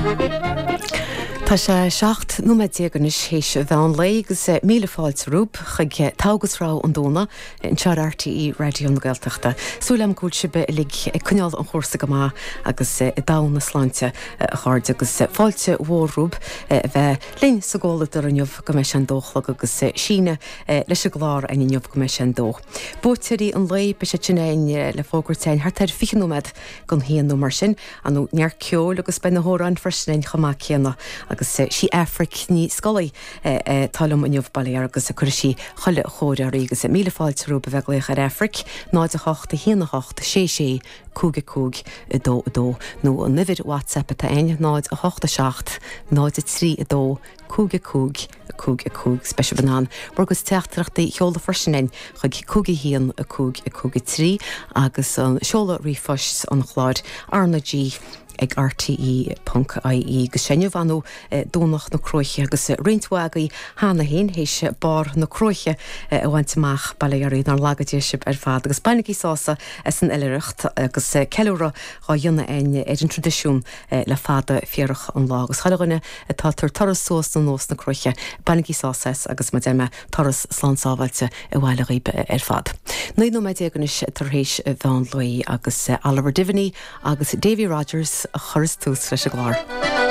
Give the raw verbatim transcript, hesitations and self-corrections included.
Tá sé seacht nóiméad déag anois théis mheán lae agus míle fáilte romhaibh chuig Togha agus Rogha an Domhnaigh anseo ar RTÉ Raidió na Gaeltachta. Súil agam go bhfuil sibh uilig ag coinneáil an chúrsa go maith agus i dtogha na sláinte a chairde agus fáilte mhór romhaibh a bheith linn sa gcomhluadar inniu go mbeidh sé an dó a chlog agus síneadh leis an gclár againn inniu go mbeidh sé an dó. Buaiteoirí an lae beidh siad sin againn le fógairt againn thart ar fiche nóiméad don haon nó mar sin, an neart ceoil agus beidh na hamhráin freisin againn chomh maith céanna agus sí Aifric Ní Scolaí atá liom inniu bail ó Dhia uirthi agus cuirfidh sí chuile chóir oraibh agus míle fáilte romhaibh a bheith ag glaoch ar Aifric, náid a hocht a haon a hocht sé sé cúig a cúig a dó a dó nó an uimhir WhatsApp atá againn náid a hocht a seacht náid a trí a dó cúig a cúig a cúig a cúig is beidh sibh in ann bhur gcuid teachtaireachtaí a sheoladh freisin againn chuig cúig a haon a cúig a cúig a trí agus an seoladh ríomhphoist an chláir RnaG ag RTE ponc IE agus sé inniu anú Domhnach na Cruaiche agus roinnt mhaith agaibh cheana féin théis barr na cruaiche a bhaint amach bail ó Dhia oraibh nár laga Dia sibh ar fad agus bainigí sásamh as an oilithreacht agus ceiliúradh á dhéanamh againn ar an traidisiún le fada fíorach an lá agus chuile dhuine atá ag tabhairt turas suas nó anuas na cruaiche bainigí sásamh as agus mar a deir mé turas slán sábháilte abhaile dhaoibh ar fad. Naoi nóiméad déag anois tar éis mheán lae agus Oliver Diviney agus Davy Rogers a chuireas tús leis an gclár.